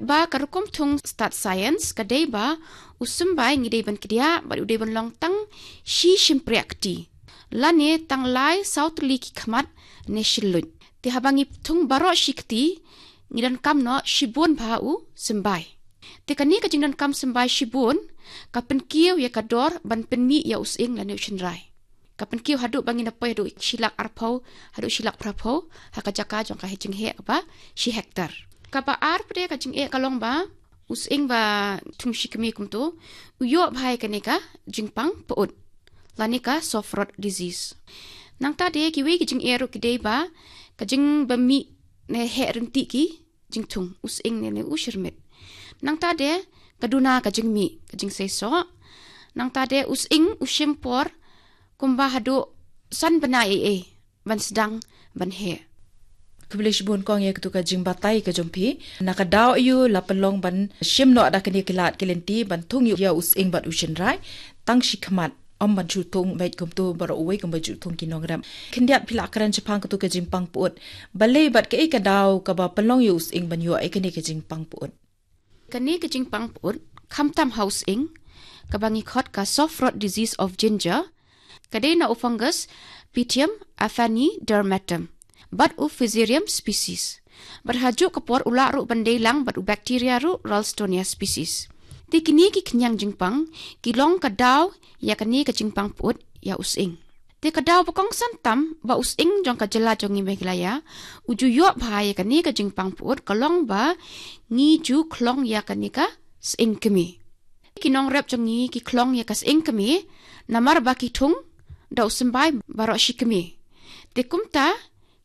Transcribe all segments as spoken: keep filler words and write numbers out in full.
Ba ka rukom thung stad science ka dei ba u symbai ngi dei ban kdiah bad u dei ban long tang shi shympriah kti, lane tang lai saw tylli ki khmat ne shilluit. Te haba ngi thung baroh shi kti, ngi donkam noh shibun bha u symbai. Te kane ka jingdonkam symbai shibun ka pynkiew ïa ka dor ban pynmih ïa u sying lane u shynrai. Ka pynkiew haduh ba ngin da poi haduh shi lak arphew haduh shi lak phraphew ha ka jaka jong ka jingeh kaba shi hektar. Kaba ar pat ka jingeh ka long ba u sying ba thung shi kmie kumto u ïoh bha ïa kane ka jingpang pyut lane ka soft rot disease. Nangta de kiwei ki jingeh ruh ki dei ba ka jingbymih ne heh rynti ki jingthung u sying ne, ne u shyrmit. Nangta de ka duna ka jingmih, ka jingseisoh. Nangta de u sying u shim por kumba haduh san bnai ei ei ban sdang ban heh. Khublei shibun kong ïa katu ka jingbatai ka jong phi. Na ka daw ïa u la pynlong ban shim noh da kine ki lad ki lynti ban thung ïa u sying bad u shynrai tang shi khmat, ym ban shu thung beit kumto baroh uwei kumba ju thung ki nongrep. Khyndiat phi la kren shaphang katu ka jingpang pyut. Balei bad kaei ka daw kaba pynlong ïa u sying ban ïoh ïa kane ka jingpang pyut? Kane ka jingpang pyut khamtam ha u sying, kaba ngi khot ka soft rot disease of ginger, ka dei na u fungus Pythium aphanidermatum bad u Fusarium species. Bad ha juh ka por u lah ruh ban dei lang bad u bacteria ruh Ralstonia species. Te kine ki khñiang jingpang ki long ka daw ïa kane ka jingpang pyut ïa u sying. Te ka daw ba kongsan tam ba u sying jong ka jylla jong ngi Meghalaya u ju ïoh bha ïa kane ka jingpang pyut ka long ba ngi ju khlong ïa kane ka sying kmie. Ki nongrep jong ngi ki khlong ïa ka sying kmie namar ba ki thung da u symbai baroh shi kmie. Te kumta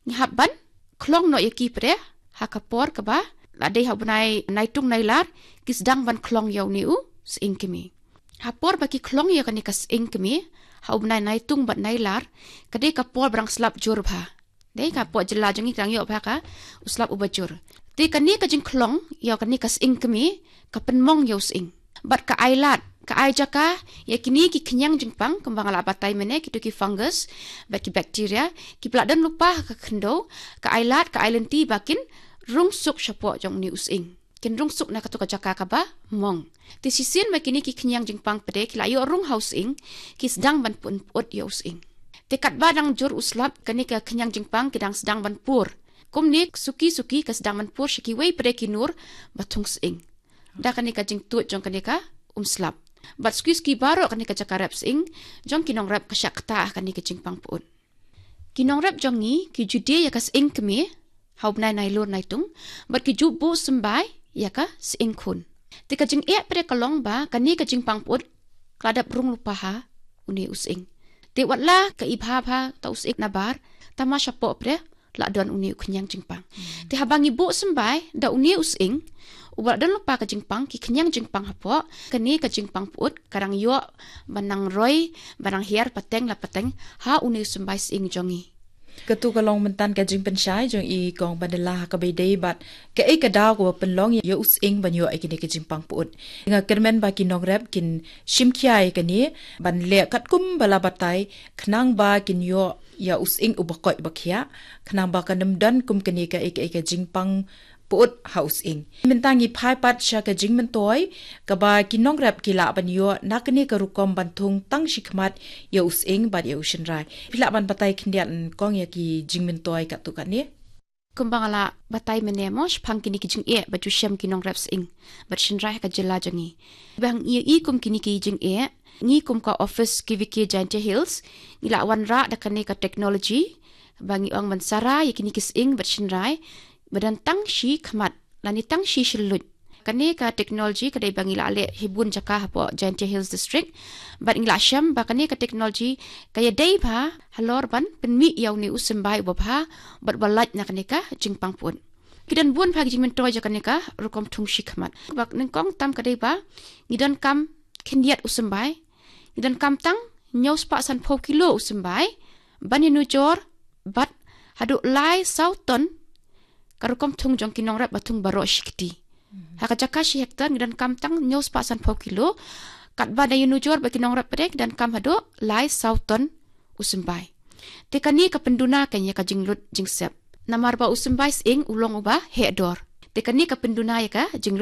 ngi hap ban khlong noh ïa ki pat ha ka por kaba la dei ha u bnai Naitung Nailar ki sdang ban khlong ïa une u sying kmie. Ha por ba ki khlong ïa kane ka sying kmie ha u bnai Naitung bad Nailar, ka dei ka por ba dang slap jur bha. Dei ka por jylla jong ngi ka dang ïoh bha ka u slap uba jur. Te kane ka jingkhlong ïa kane ka sying kmie ka pynmong ïa u sying. Bad ka ai lad, ka ai jaka ïa kine ki khñiang jingpang kumba nga la batai mynne, kito ki fungus bad ki bacteria kiba la don lypa ha ka khyndew, ka ai lad, ka ai lynti ba kin rung suk shapoh jong une u sying. Kin rung suk na kato ka jaka kaba mong. Te shisien ba kine ki khñiang jingpang pat ki la ïoh rung ha u sying, ki sdang ban pyn pyut ïa u sying. Te katba dang jur u slap, kane ka khñiang jingpang ki dang sdang ban pur. Kumne suki suki ka sdang ban pur sha kiwei pat ki nur ba thung sying da kane ka jingtuid jong kane ka um slap. Bad suki suki baroh kane ka jaka rep sying jong ki nongrep ka shah ktah ha kane ka jingpang pyut. Ki nongrep jong ngi ki ju die ïa ka sying kmie ha u bnai Nailur Naitung bad ki ju buh symbai ïa ka sying khun. Te ka jingeh pat ka long ba kane ka jingpang pyut ka la dep rung lypa ha une u sying. Te wat la ka i bha bha ta u sying nabar, tangba shapoh pat la don une u khñiang jingpang. Te haba ngi buh symbai da une u sying uba la don lypa ka jingpang, ki khñiang jingpang hapoh, kane ka jingpang pyut ka dang ïoh ban nang roi, ban nang hiar pateng la pateng ha une u symbai sying jong ngi. Katu ka long mynta ka jingpynshai jong i kong Bandela ha kaba ïadei bad kaei ka daw kaba pynlong ïa u sying ban ïoh ïa kine ki jingpang pyut. Nga kyrmen ba ki nongrep kin shim khia ïa kane ban leh katkum ba la batai khnang ba kin ïoh ïa u sying uba koit ba khiah, khnang ba kan ym don kum kane kaei kaei ka jingpang pyut ha u sying. Mynta ngi phai pat sha ka jingmyntoi kaba ki nongrep ki lah ban ïoh na kane ka rukom ban thung tang shi khmat ïa u sying bad ïa u shynrai. Phi lah ban batai khyndiat kong ïa ki jingmyntoi katto katne? Kumba nga la batai mynne mo shaphang kine ki jingeh ba ju shem ki nongrep sying bad shynrai ha ka jylla jong ngi. Ba ngi ïohi kum kine ki jingeh, ngi kum ka office K V K Jaintia Hills ngi la wanrah da kane ka technology ba ngi ong ban sara ïa kine ki sying bad shynrai ba don tang shi khmat lane tang shi shylluit. Kane ka technology ka dei ba ngi la leh ha bun jaka hapoh Jaintia Hills District bad ngi la shem ba kane ka technology ka ïadei bha halor ban pynmih ïa une u symbai uba bha bad uba lait na kane ka jingpang pyut. Ki don bun bha ki jingmyntoi jong kane ka rukom thung shi khmat. Ba nyngkong tam ka dei ba ngi donkam khyndiat u symbai, ngi donkam tang hynñiew spah sanphew kilo u symbai ban ïanujor bad haduh lai saw ton ka rukom thung jong ki nongrep ba thung baroh shi kti. Ha ka jaka shi hektar ngi donkam tang hynñiew spah sanphew kilo, katba da ïanujor bad ki nongrep pat ngi donkam haduh lai saw ton u symbai. Te kane ka pynduna ka ïa ka jinglut jingsep. Namar ba u symbai sying u long uba heh dor. Te kane ka pynduna ïa ka jinglut